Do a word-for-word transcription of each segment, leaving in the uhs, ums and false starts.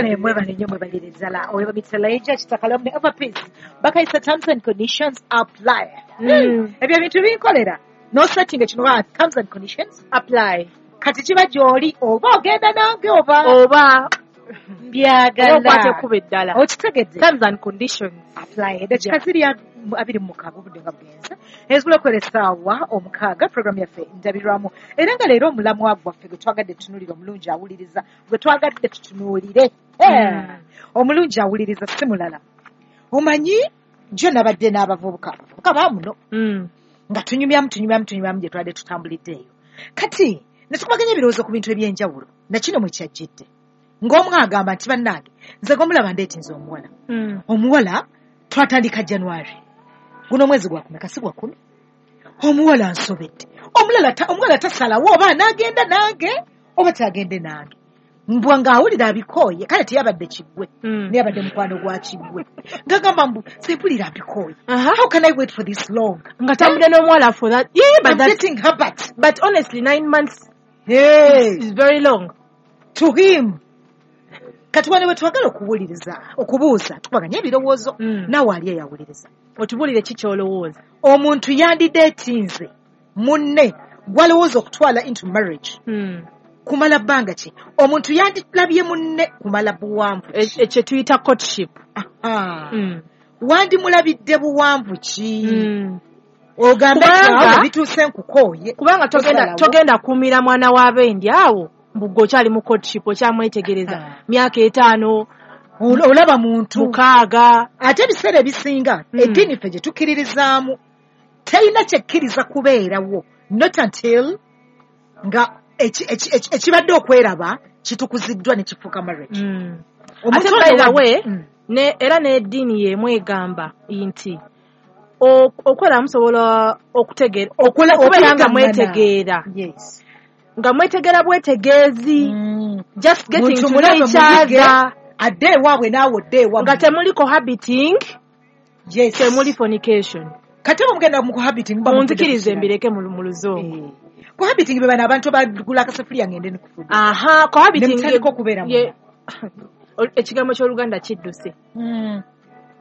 Kale mwebale nnyo, mwebalire ddala. Oyo bamuyita Elijah Kitakalamu ne Overpeace. Bakayisa terms and conditions apply. Mm. Ebyo ebintu binkolera. No setting ekino ba terms and conditions apply. Kati kiba gy'oli oba ogenda nange oba oba mbyagala. Okwata ekkubo eddala. Okitegedde. Terms and conditions apply. Eddakiika ziri abiri mu mukaaga obudde nga bugenze. Ezigula okuwera essaawa omukaaga, program yaffe Ndabirwamu. Era nga leero omulamwa gwaffe gwe twagadde tutunuulire, omulungi awuliriza, gwe twagadde tutunuulire. Mm. Omulungi awuliriza si mulala. Omanyi jjo nabadde n'abavubuka. Abavubuka baamuno. Mm. Nga tunyumyamu, tunyumyamu, tunyumyamu gye twadde tutambulidde eyo. Kati ne tukubaganya ebirowoozo ku bintu eby'enjawulo. Na kino mwe kyajjidde. Ng'omu agamba nti bannange, nze gomulaba ndeetinze omuwala. Mm. Omuwala twatandika January. Guno omwezi gwa kumeka, si gwa kumi? Omuwala nsobedde. Omulala ta-, omuwala tasalawo oba anaagenda nange oba tagende nange. Mbwa ng'awulira abikooye, kale teyabadde kiggwe. Mm. Naye abadde mukwano gwa kiggwe. Ng'agamba mbu, nze mpulira abikooye. Aha. How can I wait for this long? Nga tambudde n'omuwala for that. Yeah, but I'm that's getting her but. But honestly, nine months Hey. is very long. To him. Kati wano we twagala okuwuliriza, okubuuza, tukubaganye ebirowoozo, Mm. naawe ali eyawuliriza. Otubuulire ki ky'olowooza? Omuntu yandideetinze munne gw'alowooza okutwala into marriage. Mm. Kumala bbanga ki? Omuntu yandilabye munne kumala buwanvu ki? E-, ekyo tuyita courtship. Aha. Mm. Wandimulabidde buwanvu ki? Mm. Ogambe Kubanga nti bituuse nkukooye. Kubanga togenda, Tosalawo. togenda kuumira mwana w'abendi awo. Mbuggo okyali mu courtship, okyamwetegereza. Ah. Myaka etaano. Ola-, olaba muntu. Mukaaga. Ate ebiseera ebisinga, Mm. eddiini ffe gye tukkiririzaamu, terina kyekkiriza kubeerawo. Not until nga eki-, eki-, eki-, ekibadde okweraba kitukuziddwa ne kifuuka marriage. Mm. Omuntu Ate by the ono way, Mm. ne, era n'eddiini y'emu egamba nti o-, okwera musobola okutegeera, Okola, okubeera nga okuyita mwetegeera. Yes. Nga mwetegeera bwetegeezi. Mm. Just getting Muntu to know mulabe each muyige, other. adde ewaabwe naawe odde ewammwe. Nga temuli cohabiting, Yes. temuli fornication. Kati oba mugenda mu cohabiting, muba muvudde ku Munzikirize kirala. mbireke mu, mu luzungu. Eh. Cohabiting be bano abantu abagula akasefuliya ngende ne kufuga. Aha, cohabiting Ne mutandika okubeera ye- munda. Ol-, ekigambo ky'Oluganda kidduse. Mm.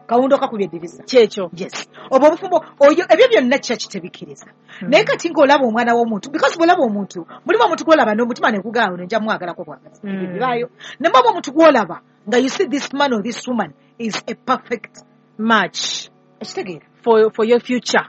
Kawundo kakubye eddirisa. Kyekyo. Yes. Obwo obufumbo, oyo, ebyo byonna church tebikkiriza. Hmm. Naye kati ng'olaba omwana w'omuntu, because bw'olaba omuntu, mulimu omuntu gw'olaba n'omutima ne gugamba ono nja mwagalako bwagazi. Hmm. Ebyo bibaayo. Ne muba omuntu gw'olaba nga you see this man or this woman is a perfect match. Ekitegeera? For, for your future.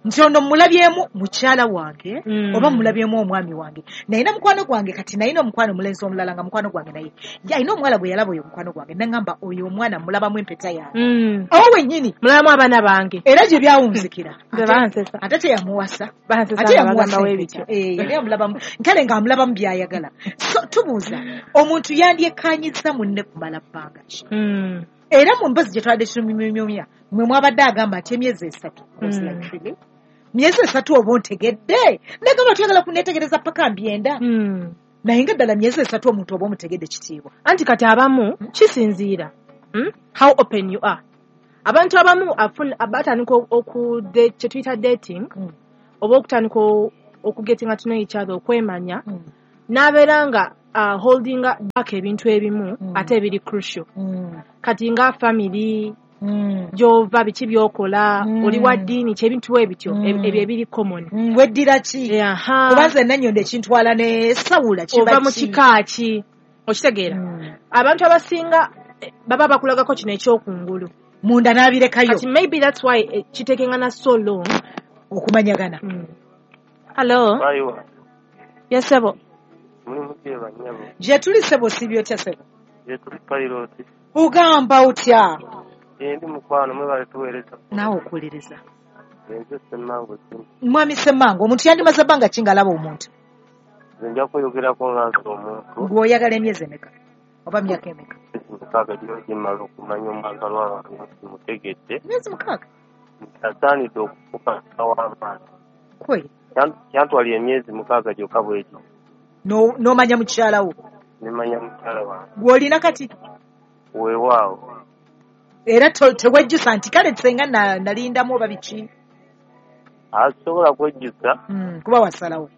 Nti ono mmulabyemu mukyala wange, Mm. oba mmulabyemu omwami wange. Naye na mukwano gwange kati nalina omukwano omulenzi omulala nga mukwano gwange naye. Ye alina omuwala gwe yalaba oyo mukwano gwange. N'aŋŋamba oyo omwana mmulabamu empeta yange. Mm. Awo wennyini. Mulabamu abaana bange. Era gye byawunzikira. Nze Ate- bansesa. Ate teyamuwasa. Bansesa Ate nga yamuwasa bagamba empeta. webityo. Eh, yali amulabamu. Nkale ng'amulabamu by'ayagala. So tubuuza, omuntu yandyekkaanyizza munne kumala bbanga ki? Mm. Era mu mboozi gye twabadde tunyumya, mwe mwabadde agamba nti emyezi esatu. I was Mm. like, really? Myezi esatu oba ontegedde? Nagamba tuyagala kunneetegereza paka mbyenda. Mm. Naye nga ddala myezi esatu omuntu oba omutegedde kitiibwa. Anti kati abamu kisinziira. Mm? How open you are. Abantu abamu afun-, batandika oku-, de-, kye tuyita dating, Mm. oba okutandika o-, okugetinga to know each other, okwemanya, Mm. n'abeera nga, uh, holding back ebintu ebimu, Mm. ate ebiri crucial. Mm. Kati nga family, Mm. gy'ova, biki by'okola, Mm. oli wa ddiini, ki ebintu ebityo, Mm. eb-, ebyo ebiri common. Mm, weddira ki? Eh, aha. Kuba nze Nannyondo ekintwala ne Sawula kiba Ova mu ki? kika ki? Okitegeera? Mm. Abantu abasinga, eh, baba bakulagako kino ekyokungulu. Munda n'abirekayo. Kati maybe that's why, eh, kitekengana so long. Okumanyagana. Mm. Hello? Bayiwa. Yes, sebo. Muli mutye bannyabo. Gye tuli sebo, siibye otya sebo? Gye tuli pilot. Ogamba otya? Gye ndi mukwano, mwebale tuweereza. Naawe okuwuliriza. Nze Ssemmango Jimmy. Mwami Ssemmango, omuntu yandimaze bbanga ki ng'alaba omuntu? Nze nja kweyogerako nga nze omuntu. Gw'oyagala emyezi emeka? Oba myaka emeka? Emyezi mukaaga giba gimmala okumanya omwagalwa wange nti mutegedde. Emyezi mukaaga? Nti asaanidde okufuuka w'abaana. Kweli? Kyan-, kyantwalira emyezi mukaaga gyokka bw'egyo. No-, n'omanya mukyala wo? Ne mmanya mukyala wange. Gw'olina kati? Weewaawo. Era to-, tewejjusa nti kale senga na-, nalindamu oba biki? Asobola kwejjusa. Mm, kuba wasalawo.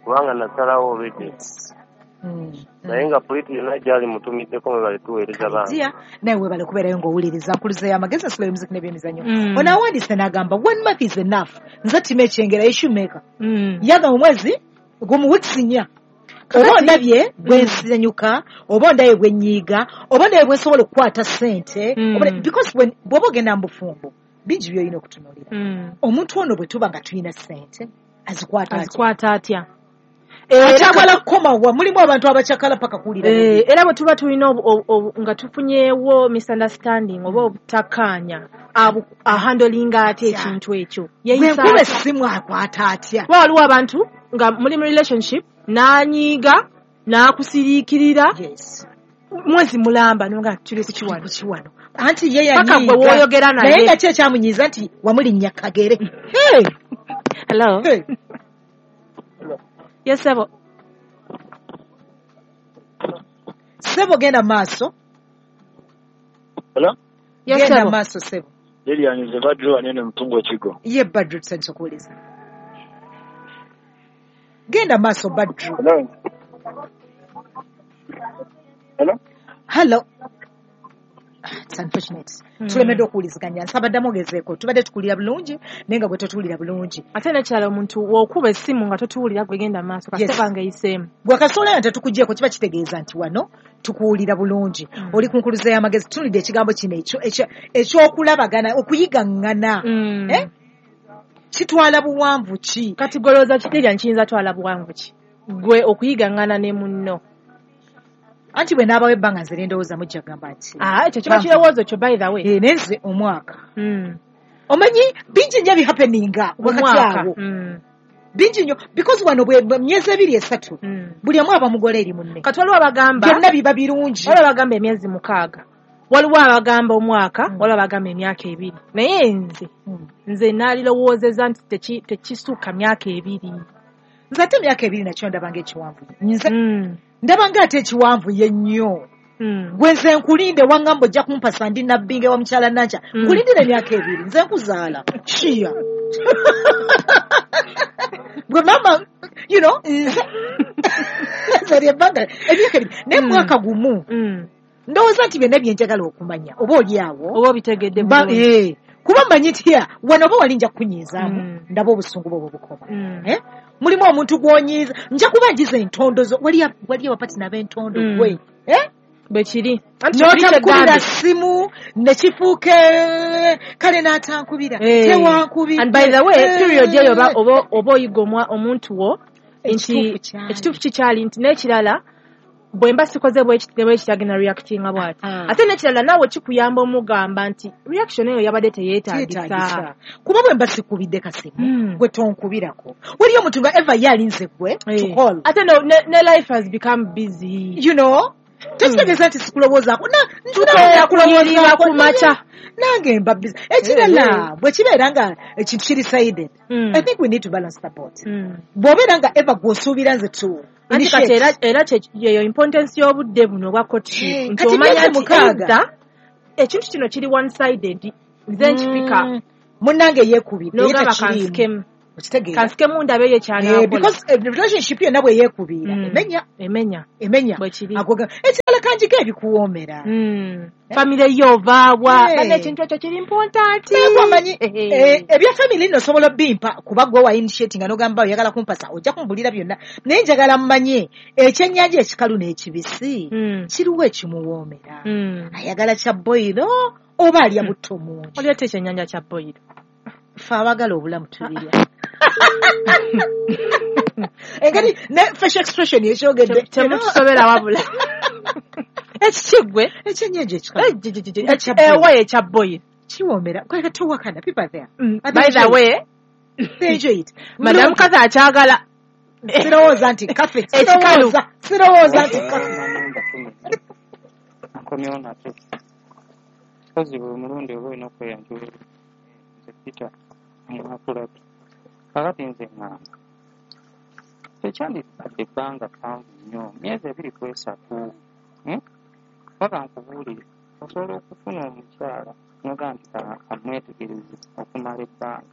Kubanga nasalawo already. Yes. Mm. Naye nga Puriti yonna gyali mutumiddeko mwebale tuweereza bange. Dear, naye webale kubeerayo ng'owuliriza nkuluza y'amagezi ensolo y'omuziki n'ebyemizannyo. Mm. Ono awandiise n'agamba one month is enough. Nze tima ekyengera issue-maker. Mm. Yaga mu mwezi gumu weeks nnya. Oba ondabye bwe nsanyuka, oba ondabye bwe nnyiiga, oba ondabye bwe nsobola okukwata ssente. Mm. Oba- Because when bw'oba ogenda mu bufumbo, bingi by'olina okutunuulira. Mm. Omuntu ono bwe tuba nga tulina ssente, azikwata atya? Azikwata atya? Era Akyagala kukomawa, mulimu abantu abakyakala paka kuwulira Eh, bubi. era bwe tuba tulina obu- obu- obu- nga tufunyeewo misunderstanding oba obutakkaanya, abu- ahandolinga atya Atya. ekintu ekyo? Bwe Yeeyisa nkuba atya? essimu akwata atya? Kuba waliwo abantu nga muli mu relationship n'anyiiga n'akusiriikirira Yes. mwezi mulamba nonga tuli ku kiwano. Ku kiwano. Anti ye Paka yanyiiga. gwe w'oyogera naye. Naye nga ki ekyamunyiiza nti wamulinnya kagere. Hey! Hello. Hey! Yes, sebo. Ssebo genda maaso. Hello? Yes, Genda sebo. maaso ssebo. Lilian nze Badru wanene Mutungwa Kigo. Ye Badru tusanyusa okuwuliza. Genda maaso Badru. Hello? Hello? Hello. It's unfortunate. Mm. Tulemeddwa okuwuliziganya. Nsaba ddamu ogezeeko. Tubadde tukuwulira bulungi naye nga gwe totuwulira bulungi. Ate n'ekirala omuntu w'okuba essimu nga totuwulira gwe genda maaso Yes. kasita nga eyiseemu. Gwe kasoola nga tetukuggyeeko kiba kitegeeza nti wano tukuwulira bulungi. Mm. Oli ku nkuluza y'amagezi tutunulidde ekigambo kino ekyo ekyo- eky'okulabagana okuyigaŋŋana. Mm. Eh? Kitwala buwanvu ki? Kati gwe olowooza ki Lilian kiyinza twala buwanvu ki? Gwe okuyigaŋŋana ne munno. Anti bwe naabawo ebbanga nze ne ndowooza mujja kugamba nti. Ah, ekyo kiba Banvu. kirowoozo kyo by the way. Eh, naye nze omwaka. Mm. Omanyi bingi nnyo ebihappeninga wakati Omwaka. awo. Mm. Bingi nnyo because wano bwe bwe myezi ebiri esatu Mm. buli omu aba mugole eri munne. Kati waliwo abagamba Byonna biba birungi. waliwo abagamba emyezi mukaaga. Waliwo abagamba omwaka, Mm. waliwo abagamba emyaka ebiri. Naye nze Mm. nze naalirowoozezza nti teki- tekisukka myaka ebiri. Nze ate emyaka ebiri nakyo ndaba ng'ekiwanvu. Nze Mm. ndaba ng'ate ekiwanvu ye nnyo. Mm. Gwe nze nkulinde wangamba ojja kumpasa ndi nabbinge wa mukyala Nankya. Mm. Nkulindira emyaka ebiri nze nkuzaala. Shiya. Gwe maama you know nze nze lye ebbanga emyaka ebiri naye Mm. mwaka gumu Mm. ndowooza nti byonna bye njagala okumanya oba oli awo Oba obitegedde Ba- bulungi. eh, kuba mmanyi nti ya wano oba wali nja kukunyiizaamu Mm. ndaba obusungu bwo bwe bukoma. Mm. Eh? Mulimu omuntu gw'onyiiza nja kuba njiza entondo zo waliyo waliyo abapatina ab'entondo Mm. gwe eh? Bwe kiri. Anti kiri n'otamukubira kyegambye. ssimu ne kifuuka kale n'atankubira Eh. tewankubidde. And by the way, Eh. period eyo oba oba oba oyiga omwa- omuntu wo nti Ekituufu kyali. ekituufu kikyali nti n'ekirala bwe mba sikoze bwe kiti ne bwe kiti agenda reactinga bw'ati. Ah. Ate n'ekirala naawe kikuyamba omugamba nti reaction eyo yabadde teyeetaagisa. Teyeetaagisa. Kuba bwe mba sikubidde kasimu Mm. gwe tonkubirako. Waliyo omuntu nga Eva ye alinze gwe to Eh. call. Ate no, ne, ne life has become busy. You know? Tekitegeeza nti sikulowoozaako. Na- Tukeera nange kuyirira ku makya. Nange mba busy. Ekirala bwe kibeera nga ekintu kiri sided. Mm. I think we need to balance the boat. Mm. Bw'obeera nga Eva gw'osuubira nze to Anti kati initiate. era era kye- yeyo importance y'obudde buno obwa courtship. Eh, Nti kati omanya myezi nti mukaaga. either ekintu kino kiri one sided nze nkipika Mm. Munnange yeekubidde ye n'ogamba takiriimu. kansikemu Okitegeera? kansikemu ndabeyo Eh, ekyanaakola. because eh, relationship yonna bwe yeekubiira Mm. emenya Emenya emenya bwe kiri. Ago ga- ekirala kanjiko ebikuwoomera. Mm. Famire yo ovaawa Eh. banna ekintu ekyo kiri important. Naye gwomanyi Eh. eh, ebya family nno osobola obimpa kuba gwe wa initiating nga n'ogamba oyagala kumpasa ojja kumbulira byonna naye njagala mmanye ekyennyanja ekikalu n'ekibisi Mm. kiriwo ekimuwoomera. Mm. Ayagala kya boyiro oba alya butto mungi. Waliwo ate ekyennyanja kya boyiro. Ffe abaagala obulamu tubirya. Engeri ne facial expression ekyogedde. Temutusobera wabula. Ekiki ggwe? Ekyennyanja ekikalu. Eh, gi- gi- gi- Nga kya boyiro. Ewa ekya boyiro. Kiwoomera. Kweka towakana people are there. Mm. And By they the enjoy way, it. They enjoy it. Madam Mulungi. Kathy akyagala. Sirowooza nti kafe. Ekikalu. Sirowooza. Sirowooza nti kafe. Nkomyewo nate. Mpozzi buli mulundi oba olina okweyanjula nze Peter Mwakulatu. Kaakati nze ŋŋamba tekyandibadde ebbanga ppanvu nnyo myezi ebiri ku esatu hmm? Paka nkubuulire osobola okufuna omukyala n'ogamba nti ka- kamwetegereze okumala ebbanga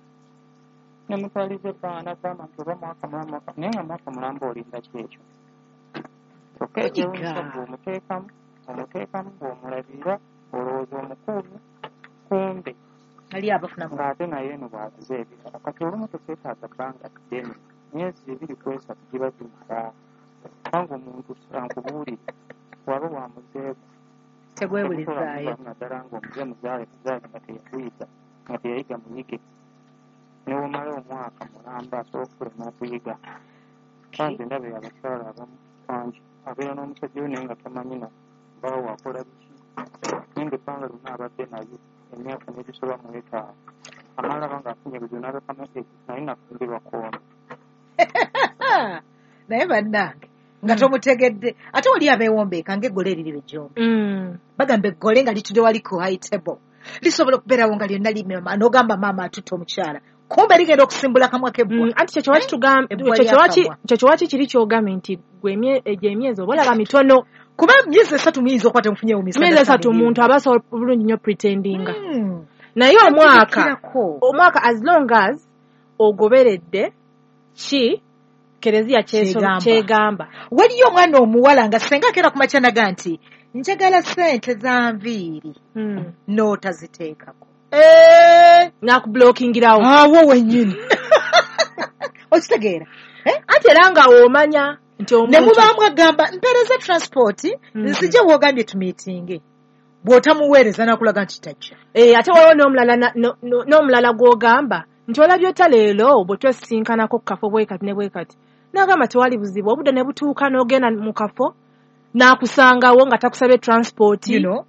ne mutwaliza ebbanga n'agamba nti oba mwaka mulamba mwaka naye nga mwaka mulamba olinda ki ekyo Kyokka Kunyiga. ekyewuunyisa gwe omuteekamu omuteekamu bw'omulabirira olowooza omukuumi kumbe Ali abafunamu. Ng'ate naye eno bw'azize ebirala. Kati olumu tekyetaaga bbanga ddene, myezi ebiri ku esatu giba gimala, kubanga omuntu ankubuulire waba wamuzeeko Tegwebulizaayo. Naddala ng'omuze muzaale muzaale nga teyaguyiga, nga teyayiga muyige, newomala omwaka mulamba asobola okukulema okuyiga. Kanze ndaba abakyala abamu bangi abeera n'omusajja we naye nga tamanyi na bbaawe akola biki, naye nga ebbanga lyonna abadde naye emyaka n'egisoba mu etaano amala aba ng'afunye ebizibu n'alekamu naye nafumbirwa koono. Naye bannange nga tomutegedde, ate wali abeewombeeka ng'eggole eriri ejjombe. Mm. Bagamba eggole nga litudde wali ku high table lisobola okubeerawo nga lyonna limema, n'ogamba maama atutte omukyala, kumbe ligenda okusimbula kamwa k'ebbwa. Mm, anti kyekyo waki tugamba Ebbwa kyekyo waki lyakamwa. Kyekyo waki kiri kyogambye nti gwe emye- egyo emyezi oba olaba mitono. Kuba myezi esatu muyinza okuba temufunyewo. Myezi esatu omuntu aba asobola bulungi nnyo pretendinga, Mm. naye omwaka Kirako. Omwaka, as long as ogoberedde ki kereziya kyeso- Kyegamba. Kyegamba. Waliyo omwana omuwala nga senga akeera ku makya naga nti njagala ssente za nviiri, Mm. n'otaziteekako. N'akublokingirawo. Awo wennyini okitegeera. Eh? Anti era nga omanya nti Ne omuntu mubaamu agamba mpeereza transport, Mm. nzije woogambye tumiitinge, bw'otamuweereza n'akulaga nti tajja. Eh, ate waliwo n'omulala na- no- no- n'omulala gw'ogamba nti olabye ota leero bwe twesinkanako ku kafo bwe kati ne bwe kati, n'agamba tewali buzibu, obudde ne butuuka n'ogenda mu kafo n'akusangawo nga takusabye transport. You know,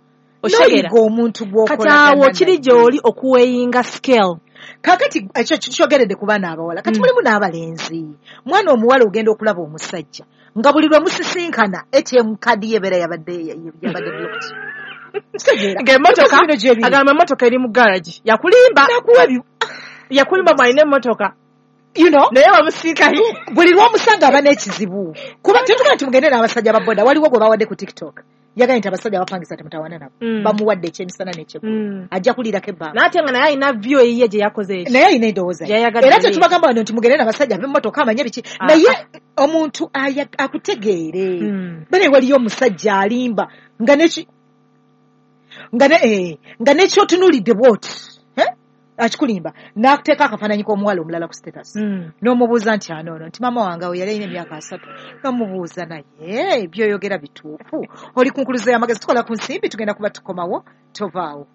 Okitegeera? N'oyiga omuntu Kati gw'okolagana awo kiri naye. gy'oli okuweyinga scale. Kaakati ekyo kikyogeredde ku baana abawala, kati Mm. mulimu n'abalenzi. Mwana omuwala ogenda okulaba omusajja nga buli lwe musisinkana A T M card ye ebeera yabadde yabadde blocked. Kitegeera? Ng'emmotoka Bino gye biri. Agamba emmotoka eri mu garage, yakulimba. Nakuwa ebi- Yakulimba mwalina emmotoka, you know naye wamusiikayo. Buli lw'omusanga aba n'ekizibu, kuba tetugaa nti mugende n'abasajja ba boda. Waliwo gwe bawadde ku TikTok, yagambye nti abasajja bapangisa temutawana nabo. Mm. Bamuwadde ekyemisana n'ekyeggulo, Mm. ajja kuliirako ebbanga. N'ate nga naye alina view eyiye gye yakoze ekyo. Naye alina endowooza ye. Gyeyayagadde Era ye. tetubagamba wano nti mugende n'abasajja ab'emmotoka amanye biki, Ah. naye omuntu aya- akutegeere. Mm. Bane waliyo omusajja alimba nga neki nga ne eh, nga nekyotunuulidde bwoti, eh? Akikulimba n'akuteeka akafaananyi k'omuwala omulala ku status, Mm. n'omubuuza nti anoono nti maama wange awo yali alina emyaka asatu, n'omubuuza naye byoyogera bituufu? Oli ku nkuluzo y'amagezi, tukola ku nsimbi, tugenda kuba tukomawo, tovaawo.